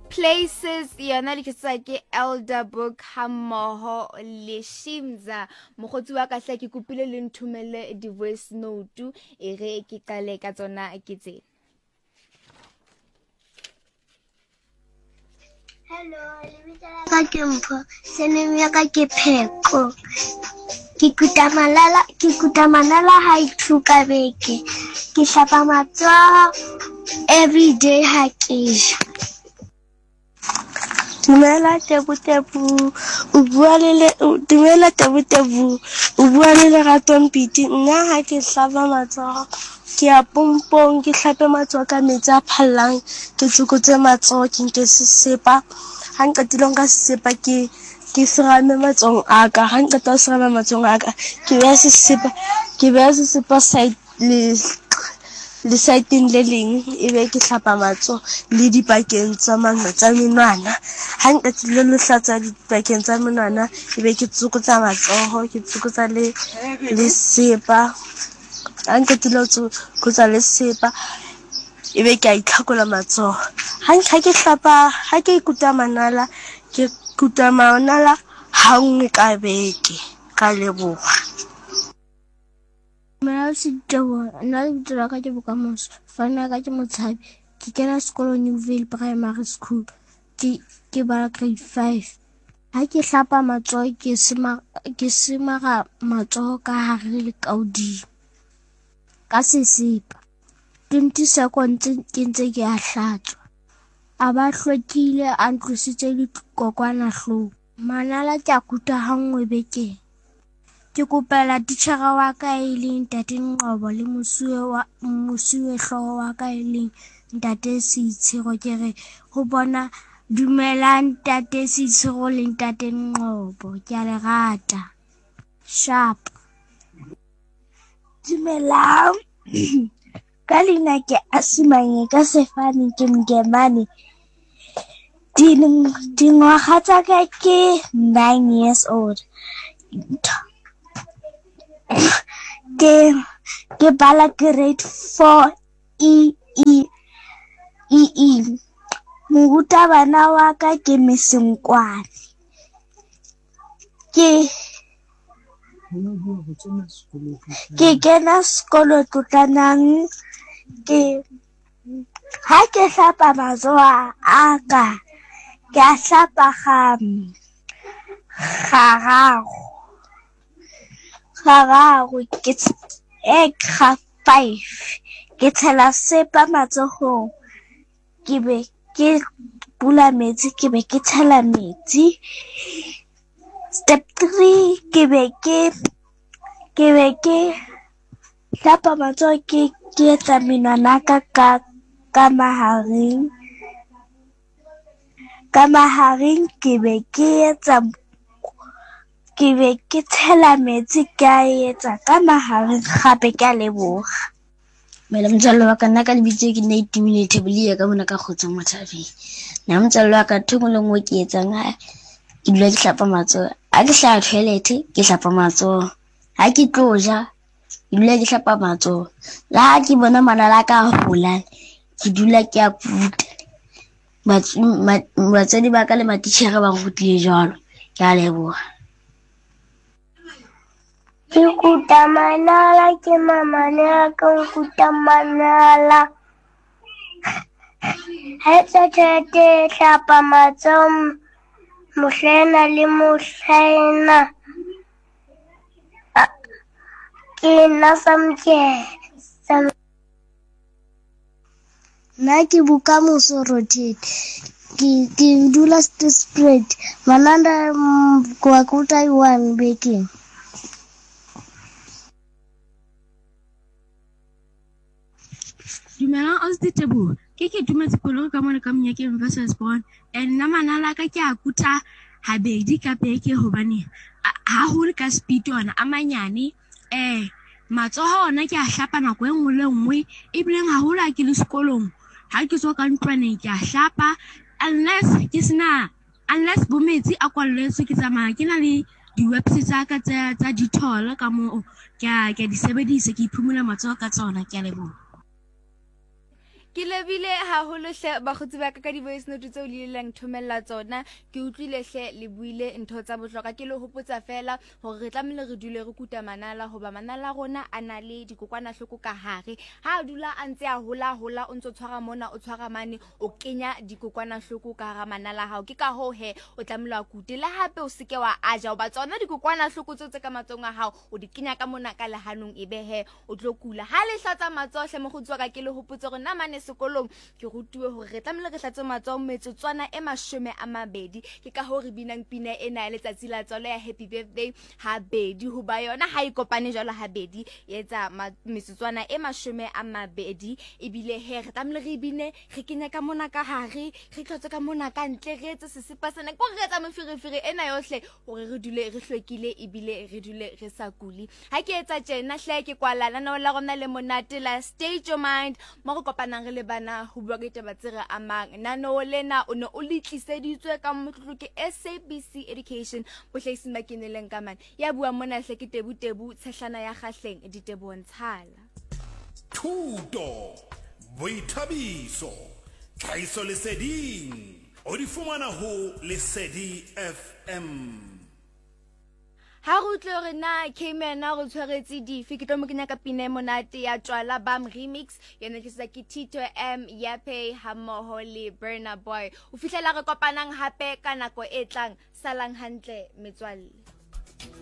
Places yona le tlisetswa ke Elder Book hammoho le Shimza. Mokgotsi wa ka hle ke kopile le nthomelle di-voice note e re ke qale ka tsona ke tse. Hello, lebitso la ka ke Mpho, surname ya ka ke Pheko. Ke kuta malala, ke kuta manala ha two ka beke. Ke hlapa matsoho every day ha ke ja. Dumela Tebu Tebu, o bua le le dumela Tebu Tebu, o bua le Lerato Mpiti. Nna ha ke hlapa matsoho ke ya pompong ke hlape matsoho ka metsi a phallang, ke tsokotse matsoho ke nke sesepa. Ha nqetile ho nka sesepa ke ke serame matsohong a ka, ha nqeta ho serama matsohong a ka ke beha sesepa ke beha sesepa side le lesaeteng le leng ebe ke hlapa matsoho le dipakeng tsa tsa menwana. Ha nqetile le hlatswa dipakeng tsa menwana ebe ke tsokotsa matsoho, ke tsokotsa le le sepa. Ha nqetile ho tsokotsa le sepa ebe ke a itlhakola matsoho. Ha ha ke hlapa ha ke kuta manala, ke kuta manala ha nngwe ka beke. Ka leboha. Dumela Siteboho, nna lebitso la ka ke Bokamoso, fane ya ka ke Motshabi. Ke kena sekolo Newvale Primary School, ke ke bala grade 5. Ha ke hlapa matsoho ke sema ke semara matsoho ka hare le ka hodimo ka sesepa. 20 seconds ke ntse ke a hlatswa. A ba hlwekile a ntlositse dikokwanahloko. Manala ke a kuta ha nngwe bekeng. Ke kopela titjhere wa ka e leng Ntate Nqobo le mosuwe wa mosuwehlooho wa ka e leng Ntate Seitshiro ke re ho bona dumelang Ntate Seitshiro le Ntate Nqobo ke a le rata. Sharp. Dumelang. Ka leina ke Asimanye ka sefane ke Mkemane. Dingwaga tsa ka ke 9 years old. Ke ke bala grade 4 E E E E. Morutabana wa ka ke Miss Nkwane. Ke ke kena sekolo Tlotlanang ke ha ke hlapa matsoho a ka ke a hlapa ga gararo gararo ke ga five ke tshela sepa matsohong ke be ke bula metsi ke be ke tshela metsi. Step three ke be ke ke be ke hlapa matsoho ke ke etsa menwana ka ka ka mahareng ka mahareng ke be ke etsa ke be ke tshela metsi ke a etsa ka mahareng gape ke a leboga. Dumela motswalle wa ka nna ka lebitso ke nna Itumile Thebolia ka mona ka Kgotsong Mothabeng. Nna motswalle wa ka ntho e nngwe le nngwe ke etsang ha ke dula ke hlapa matsoho. Ha ke hlaha toilet ke hlapa matsoho. Ha ke tlo ja ke dula ke hlapa matsoho. Le ha ke bona manala a ka a hola ke dula ke a kuta. Batswadi ba ka le matitjhere ba nrutile jwalo. Ke a leboha. Ke kuta manala ke mamane a ka nkuta manala. Ha etsa tjhelete e hlapa matsoho mohlaena le mohlaena. Ke nna Samkele. Nna ke Bokamoso Rothete. Ke ke dula Spread. Mananda kwa kuta one bekeng. Dumelang Ausi Teboho. Ke ke tumetse koloi ka mona ka monyakeng versus born. And nna manala ka ke a kuta habedi ka beke hobane haholo ka speed ona a manyane. Matsoho ona ke a hlapa nako e nngwe le nngwe ebileng haholo ha ke le sekolong ha ke tswa ka ntlwaneng ke a hlapa unless ke sena unless bo metsi a kwalletswe ke tsamaya ke na le di-webs tsa ka tsa Dettol ka moo ke a di sebedisa ke iphumula matsoho ka tsona ke a leboha. Ke lebile haholo hle bakgotsi ba ka ka di-voice note tseo le ileng thomella tsona. Ke utlwile hle le buile ntho tsa bohlokwa. Ke le hopotsa fela hore re tlamehile re dule re kuta manala hoba manala a rona a na le dikokwanahloko ka hare. Ha a dula a ntse a hola hola o ntso tshwara mona o tshwara mane o kenya dikokwanahloko ka hara manala a hao. Ke ka hoo he o tlamehile wa kute le hape o seke wa aja hoba tsona dikokwanahloko tseo tse ka matsohong a hao o di kenya ka mona ka lehanong ebe he o tlo kula. Ha le hlatsa matsoho hle mokgotsi wa ka ke le hopotse hore nna mane sekolong ke rutuwe hore re tlamehile re hlatse matsoho metsotswana e 20. Ke ka hoo re binang pina ena ya letsatsi la tswalo ya happy birthday habedi hoba yona ha e kopane jwalo habedi e etsa metsotswana e 20. Ebile he re tlamehile re bine re kenye ka mona ka hare re tlotse ka mona ka ntle re etse sesepa sena ko re etsa meferefere ena yohle hore re dule re hlwekile ebile re dule re sa kule. Ha ke etsa tjena hle ke kwala lenaneo la rona le monate la State Your Mind mo re kopanang re le bana ho bua ka ditaba tse re amang. Lenaneo lena o ne o le tliseditswe ka motlotlo ke SABC Education bohlahising ba keneleng ka mane. Ya buang mona hle ke Tebu Tebu Tshehlana ya Kgahleng ditebohong tshala. Thuto, boithabiso, tlhahisoleseding o di fumana ho Lesedi FM. Ha re utlwe hore na Cayman o re tshwaretse dife, ke tlo mo kenya ka pina e monate ya Tjwala Bam Remix, yona tlisetswa ke Tito M Yape hammoho le Burna Boy. Ho fihlela re kopanang hape ka nako e tlang, salang hantle metswalle.